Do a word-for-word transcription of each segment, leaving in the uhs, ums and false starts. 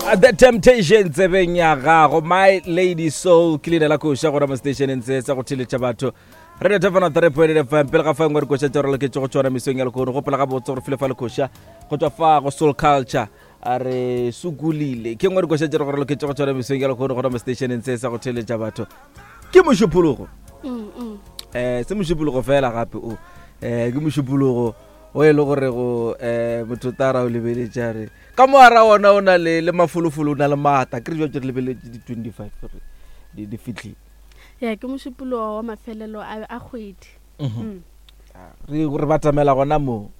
The Temptation tsebeng ya gago, My Lady Soul ke leina la koša gona mo stationeng se sa go theletša batho Radio Tafana three point eight F M. Pele ga fa ngwe dikoša tša re loketše go tšona mesong ya lehono, gopola gabotse gore file fa lekoša go tšwa fa go Soul Culture a re sukulile ke ngwe dikoša tša re loketše go tšona mesong ya lehono gona mo stationeng se sa go theletša batho. Ke mošupologo eh se mošupologo fela gape o eh ke mošupologo o e le gore go eh motho tara o lebeletša re ka moara ona o na le le mafolofolo, o na le maata ke re jwa re lebeletše di twenty-five gore di di fitlhile. Ya ke mošupologo wa mafelelo a a kgwedi. Mm. Re re batamela gona mo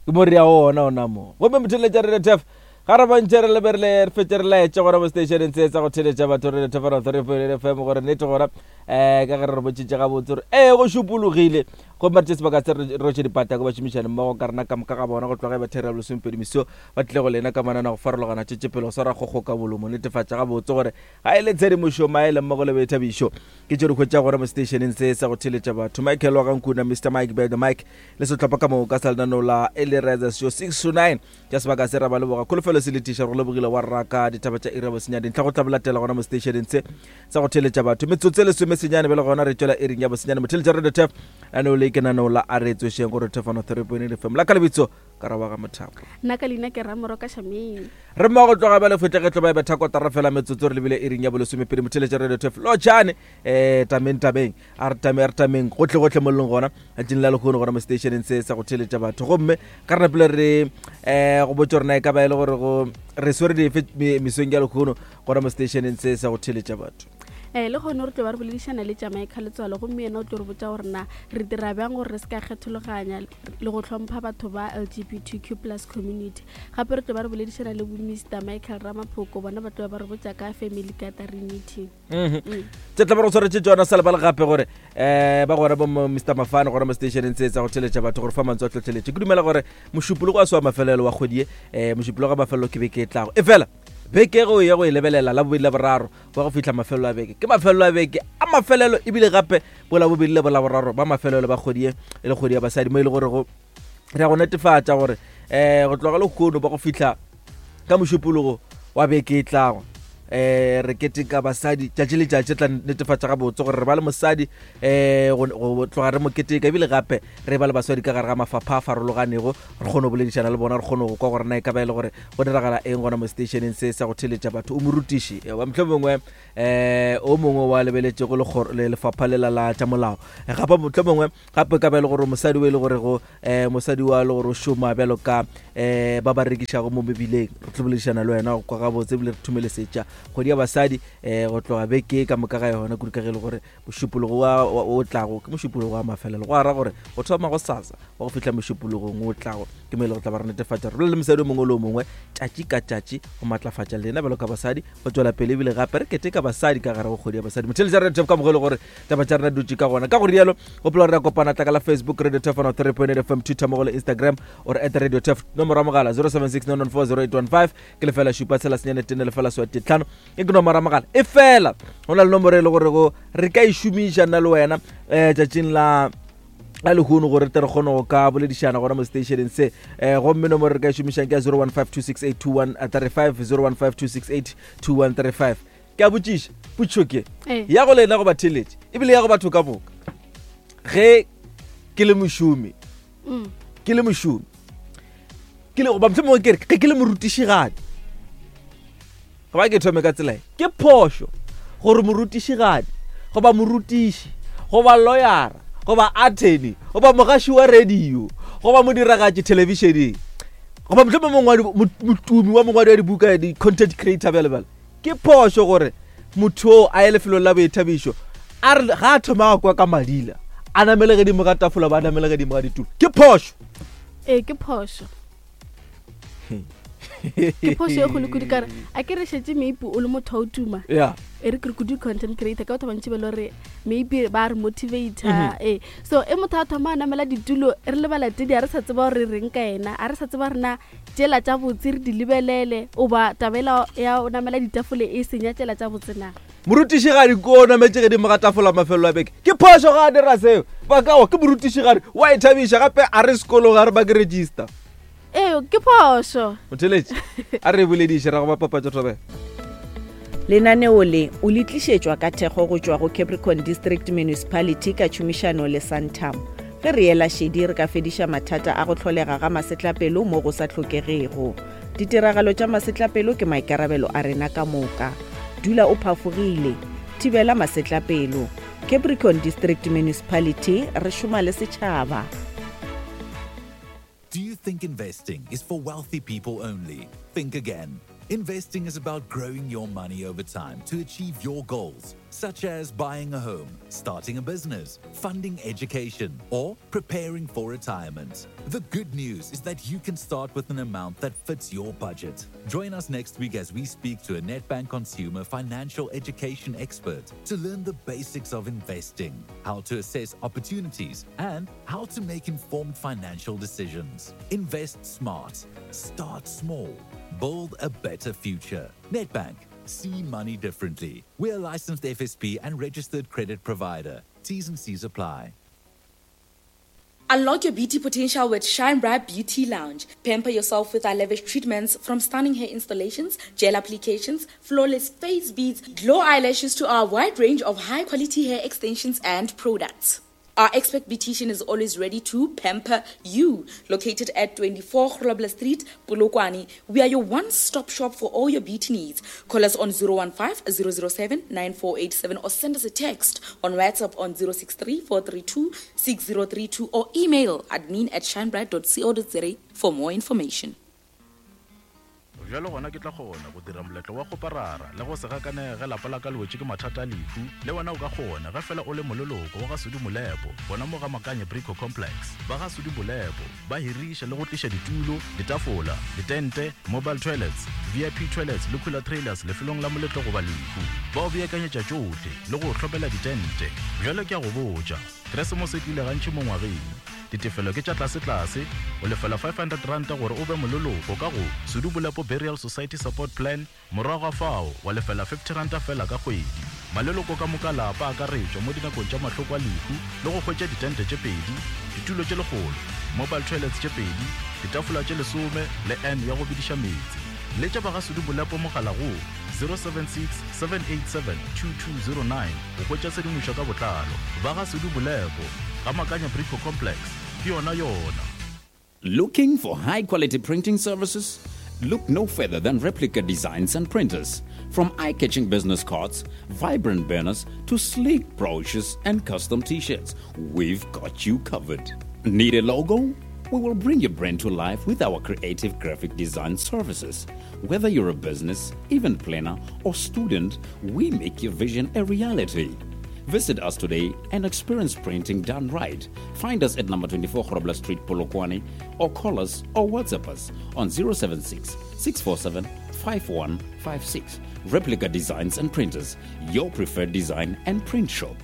ke mo re ya ona ona mo gomme motheletša re tef ga re bantše re leberile re fetse re laetše gona mo stationeng se sa go theletša batho re tef three point eight F M gore nnete gona eh ka ge re re botsitše gabotse gore ee go šupologile gomme re tše sebaka se re rotše dipata ko bašomišane mmogo ka rena ka moka ga bona go tloga ba thera lesomepedi meso ba tlile go lena ka manana go farologana tšetše pele go swara kgokgo ka molomo netefatša gabotse gore ga e le tshedimošo maele mmogo le boithabišo ke tše di hwetša gona mo stationeng se sa go theletša batho. Michael wa Gankuna, Mister Mike Bed Mike le sehlopha ka moka sa lenaneo la Elereza Show six to nine tša sebaka se ra ba leboga kholofelo se letiša go lebogile wa raka ditaba tša iri ya bosenyane dintlha go tla bolatela gona mo stationeng se sa go theletša batho metsotso e lesome senyane bjale gona re tšwela iring ya bosenyane motheletša Radio Tef lenaneo le ke lenaneo la a re tsošeng go Radio Tef three point eight F M la ka lebitso ka ra wa ga Mothapo nna ka leina ke Ramoroka Shameng re mmogo tloga bjale fetlegetlo ba e betha kotara fela metsotso re lebile iring ya bolesomepedi motheletša Radio Tef lotšhane eh tameng tameng a re tame a re tameng gotlhe gotlhe mo leng gona letšatšing la lehono gona mo stationeng se sa go theletša batho gomme ka re napile re eh go botša rena e ka ba e le gore go re swere dife mesong ya lehono gona mo stationeng se sa go theletša batho. Eh le gone re tlo ba re boledišana le Jamaica Letswalo gomme yena o tlo re botša gore na re dira bjang gore re se ka kgethologanya le go hlompha batho ba L G B T Q plus community. Gape re tlo ba re boledišana le bo Mister Michael Ramaphoko bona ba tlo ba re botša ka family gathering meeting. Mhm. Tse tla ba re tshwaretse tšona sa lebala gape gore eh ba gona bo Mister Mafane gona mo stationeng tse tsa go theletša batho gore fa mantswe a tlhotlheletše. Ke dumela gore mošupologo wa se wa mafelelo wa kgwedi e eh mošupologo wa mafelelo ke beke e tlago. E fela beke go ya go e lebelela la bobedi la boraro ba go fihla mafelelo a beke ke mafelelo a beke a mafelelo ebile gape bola bobedi le bola boraro ba mafelelo ba kgwedi e le kgwedi ya basadi mo e le gore go re ya go netefatša gore eh go tloga lehono ba go fihla ka mošupologo wa beke e tlago eh re keteka basadi tšatši le tšatši tla netefatša gabotse gore re ba le mosadi eh go tloga re mo keteka ebile gape re ba le basadi ka gare ga mafapha a farologanego re kgone go boledišana le bona re kgone go kwa gore na e ka ba e le gore go diragala eng gona mo stationeng se sa go theletša batho. O morutiši wa mohlomongwe eh o mongwe wa lebeletšego le lefapha lela la tša molao gape mohlomongwe gape ka ba e le gore mosadi o e le gore go eh mosadi wa le gore o šoma bjalo ka eh ba ba rekišago mo mebileng re tlo boledišana le wena go kwa gabotse ebile re thumelesetša kgwedi ya basadi eh go tloga beke ka moka ga yona kudu ka ge e le gore mošupologo wa o tlago ke mošupologo wa mafelelo go ara gore go thoma go sasa wa go fihla mošupologong o tlago ke mo e le go tla ba re netefatša re bolele le mosadi o mongwe le o mongwe tšatši ka tšatši go matlafatša lena bjalo ka basadi go tšwela pele ebile gape re keteka basadi ka gare go kgwedi ya basadi. Motheletša Radio Tef ka mogo e le gore taba tša rena dutše ka gona ka go rialo gopola gore re kopana tla ka la Facebook Radio Tef three point eight F M Twitter mo go le Instagram or at Radio Tef nomoro ya mogala zero seven six nine one four zero eight one five ke lefela šupa tshela senyane tene lefela swate tlhano e ke nomoro ya mogala e fela go na le nomoro e le gore go re ka e šomiša nna le wena um tšatšing la la lehono gore tle re kgone go ka boledišana gona mo stationeng se um gomme nomoro re ka e šomišang ke ya zero one five two six eight two one three five zero one five two six eight two one three five. Ke a botšiša potšo ke ya go lena go batheletše ebile ya go batho ka moka ge ke le mošomi ke le mošomi ke le goba mohlomongwe ke re ge ke le morutišigadi goba ke thome ka tsela e ke phošo gore morutišigadi goba morutiši goba lawyera goba attorney goba mogaši wa radio goba modiragatši thelebišeneng goba mohlomongwe motumi wa mongwadi wa dibuka di-content creator bjale bjale ke phošo gore motho o a ye lefelong la boithabišo a re ga a thoma go kwa ka madila a namele godimo ga tafola ba namele godimo ga ditulo ke phošo. Ee ke phošo ke phošo e kgolo kudu kare a ke re šetše maybe o le motho wa o tuma yeah e re ke re kudu content creator ka batho bantši ba le gore maybe ba re motivator ee so e motho a thoma a namela ditulo re le balatedi a re sa tseba gore re reng ka ena a re sa tseba rena tšela tša botse re di lebelele oba tabela ya o namela ditafole e senya tšela tša botse na. Morutišigadi ko o nametše godimo ga tafola mafelelo a beke ke phošo ga a dira seo bakao ke morutišigadi wa ithabiša gape a re sekolong ga re ba ke register. Ee, ke phošo. Motheletši, a re bolediše ra go bapapatša thobela. Lenaneo le o le tlišetšwa ka thekgo go tšwa go Capricorn District Municipality ka tšhomišano le Santam. Ge re ela šedi re ka fediša mathata a go hlolega ga masetlapelo mo go sa hlokegego. Ditiragalo tša masetlapelo ke maikarabelo a rena ka moka. Dula o phafogile, thibela masetlapelo. Capricorn District Municipality, re šoma le setšhaba. Do you think investing is for wealthy people only? Think again. Investing is about growing your money over time to achieve your goals, such as buying a home, starting a business, funding education, or preparing for retirement. The good news is that you can start with an amount that fits your budget. Join us next week as we speak to a Nedbank consumer financial education expert to learn the basics of investing, how to assess opportunities, and how to make informed financial decisions. Invest smart, start small, build a better future. Nedbank, see money differently. We're a licensed F S P and registered credit provider. T's and C's apply. Unlock your beauty potential with Shine Bright Beauty Lounge. Pamper yourself with our lavish treatments, from stunning hair installations, gel applications, flawless face beads, glow eyelashes to our wide range of high-quality hair extensions and products. Our expert beautician is always ready to pamper you. Located at twenty-four Grobler Street, Polokwane, we are your one-stop shop for all your beauty needs. Call us on zero one five, zero zero seven, nine four eight seven or send us a text on WhatsApp on zero six three, four three two, six zero three two or email admin at shinebright dot co dot za for more information. Bjalo gona ke tla kgona go dira moletlo wa go parara le go se gakanege lapa la ka le wetše ke mathata a lehu. Le wena o ka kgona ge fela o le moleloko wa ga Sudi Molepo, gona mo ga Makanye Brico Complex. Ba ga Sudi Molepo ba hiriša le go tliša ditulo, ditafola, ditente, mobile toilets, V I P toilets le cooler trailers lefelong la moletlo goba lehu. Ba o beakanyetša tšohle le go hlopela ditente. Bjalo ke a go botša, Keresemose e tlile gantši mo ngwageng. Ditefelo ke tša tlase-tlase, o lefela five hundred rand gore o be moleloko ka go Sudi Molepo Burial Society Support Plan, morago ga fao wa lefela fifty rand fela ka kgwedi. Maleloko ka moka lapa a akaretšwa mo dinakong tša mahloko a lehu le go hwetša ditente tše pedi, ditulo tše lekgolo, mobile toilets tše pedi, ditafola tše lesome le N ya go bediša meetse. Letša ba ga Sudi Molepo mogala go zero seven six, seven eight seven, two two zero nine go hwetša tshedimošo ka botlalo. Ba ga Sudi Molepo, ga Makanya Brico Complex, ke yona yona. Looking for high quality printing services? Look no further than Replica Designs and Printers. From eye-catching business cards, vibrant banners, to sleek brochures and custom t-shirts, we've got you covered. Need a logo? We will bring your brand to life with our creative graphic design services. Whether you're a business, event planner, or student, we make your vision a reality. Visit us today and experience printing done right. Find us at number twenty-four Grobler Street, Polokwane, or call us or WhatsApp us on zero seven six, six four seven, five one five six. Replica Designs and Printers, your preferred design and print shop.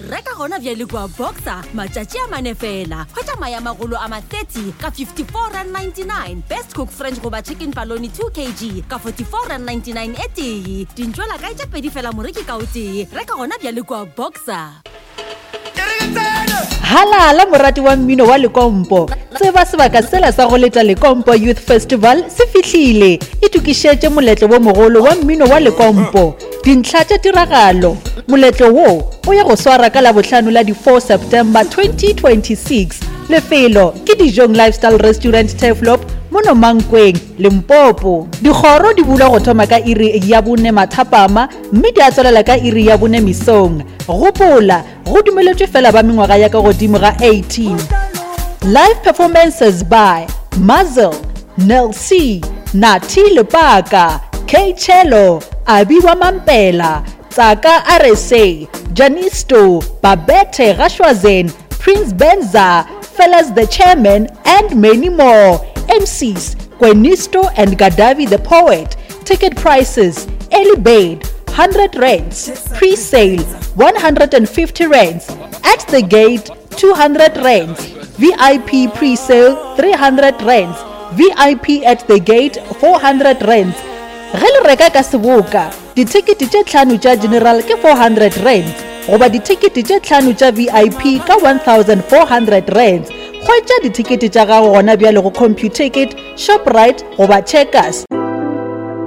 Reka gona bjale kwa Boxer matšatši a mane fela. Hwetša maya magolo a ma thirty ka fifty-four rand ninety-nine. Best Cook French goba chicken paloni two kilograms ka forty-four rand ninety-nine e tee. Dintšwela kae tša pedi fela moreki ka o tee. Reka gona bjale kwa Boxer. Halala morati wa mmino wa Lekompo. Tseba sebaka sela sa go leta Lekompo Youth Festival se fihlile. Itokišetše moletlo wo mogolo wa mmino wa Lekompo. Dintlha tša tiragalo. Moletlo wo o ya go swara ka Labohlano la di four September twenty twenty-six. Lefelo ke Dijong Lifestyle Restaurant Turfloop mono Mankweng, Limpopo. Dikgoro di bulwa go thoma ka iri ya bone mathapama mme di a tswelela ka iri ya bone mesong. Gopola, go dumeletšwe fela ba mengwaga ya ka godimo ga eighteen. Live performances by Mazel, Nel C, Nati Lepaka, K Chelo, Abiwa Mampela, Tsaka R S A, Janisto, Babette Rashwazen, Prince Benza, Fellas the Chairman, and many more. M Cs, Gwenisto and Gadavi the Poet. Ticket prices, early bird, hundred rands, pre-sale, one hundred and fifty rands, at the gate, two hundred rands, V I P pre-sale, three hundred rands, V I P at the gate, four hundred rands. Ge le reka ka seboka, dithekete tše tlhano tša general ke four hundred rands, goba dithekete tše tlhano tša V I P ka one thousand four hundred rands. Hwetša dithekete tša gago gona bjale go Computicket, Shoprite goba Checkers.